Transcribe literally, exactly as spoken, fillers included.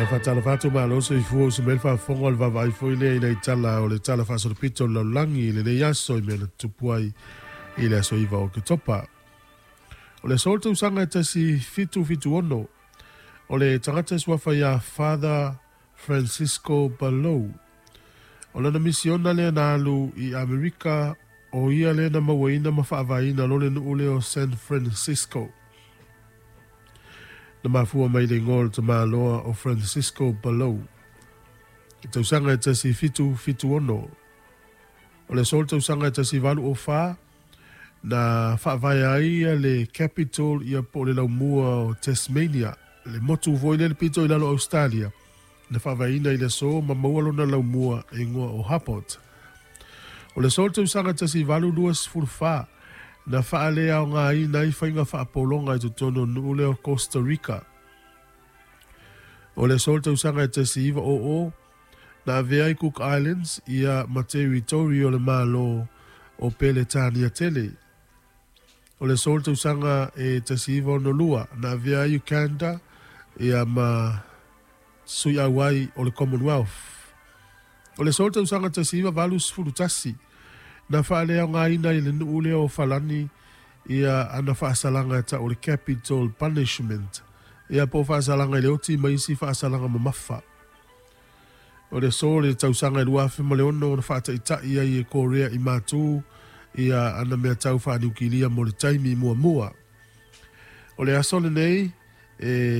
Ia faatalofa atu, malo soifua uso mai le faafofoga o le vaavaai foi lea i le tala o le tala faasolopito o le lalolagi i lenei aso i mea na tutupu ai i le aso iva o Oketopa. O le aso o le tausaga e tasi fitu fitu ono, o le tagata e suafa ia Father Francisco Balou. O lana misiona lea na alu i Amerika, o ia lea na mauaina ma faavaeina lo le nuu lea o San Francisco. Na mafua mai le igoa o le tamaloa o Francisco Balou. I tausaga e tasi fitu fitu ono. O le aso o le tausaga e tasi valu o fa, na faavae ai ia le capital ia po o le laumua o Tasmania, le motu foi lea le pito i lalo Australia, na faavaeina i le aso ma maua lona laumua e igoa o Harbord. O le aso o le tausaga tasi valu lua sefulu fa, na faaleaogaina ai faiga faapologa i totonu o nuu lea o Costa Rica. O le aso o le tausaga e tasi iva o o, na avea ai Cook Islands ia ma territory o le Malo o Peretania tele. O le aso o le tausaga e tasi iva ono lua, na avea ai Uganda ia ma sui auai o le Commonwealth. O le aso o le tausaga tasi iva valu sefulu tasi, na faaleaogaina i le nuu lea o Falani ia ana faasalaga e tau o le capital punishment, ia po o faasalaga i le oti ma isi faasalaga mamafa. O le aso o le tausaga e lua afe ma le ono, na faataitai ai e Korea i matu ia ana mea tau faaniukilia mo le taimi muamua. O le aso lenei e